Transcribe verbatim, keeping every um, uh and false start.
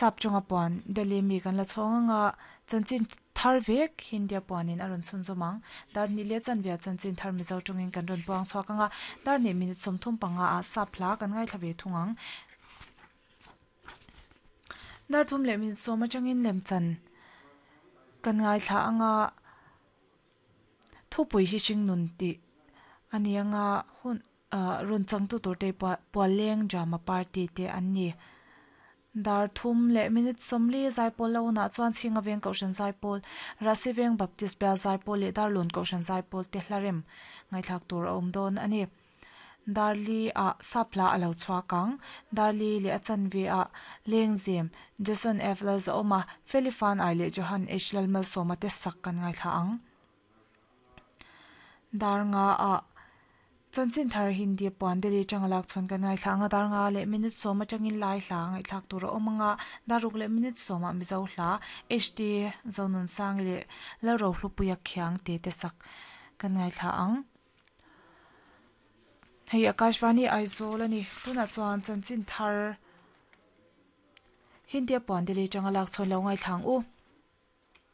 Sap chunga puan Delhi mi kan la chhawng anga chanchin thar vek Hindia puanin a rawn chhun zawm ang dar hnih leh chanve ah chanchin thar mizo tawngin kan rawn puang chhuak anga dar hnih minute sawmthum panga ah sap hla kan ngaithla ve thung ang. Dar thum leh minute sawm atangin lemchan kan ngaithla anga thupui hi hring nun tih a ni anga hun ah rawn changtu tur te pualleng drama party te an ni. Dar thum leh minute sawmli zaipawl lo hunah chuan chhinga veng kohhran zaipawl, Rasi veng Baptist bial zaipawl leh Darlawn kohhran zaipawl te hlarem ngaihthlak tur a awm dawn a ni. Darli ah sap hla a lo chhuak ang. Darli leh a chanve ah Lengzem, Jason F Lalzaawma, Feli Fanai leh Johan H Lalmalsawma te sak kan ngaithla ang. Dar nga ah chanchin thar Hindi puan Delhi atanga lak chhawn kan ngaithla ang a, dar nga leh minute sawm atangin lai hla ngaihthlak tur a awm ang a, dar ruk leh minute sawmah Mizo hla H D Zonunsangi leh Lalrohlupuia Khiang te te sak kan ngaithla ang. Hei Akashvani Aizawl a ni. Tunah chuan chanchin thar Hindia puan Delhi atanga lak chhawn lo ngaithla ang u.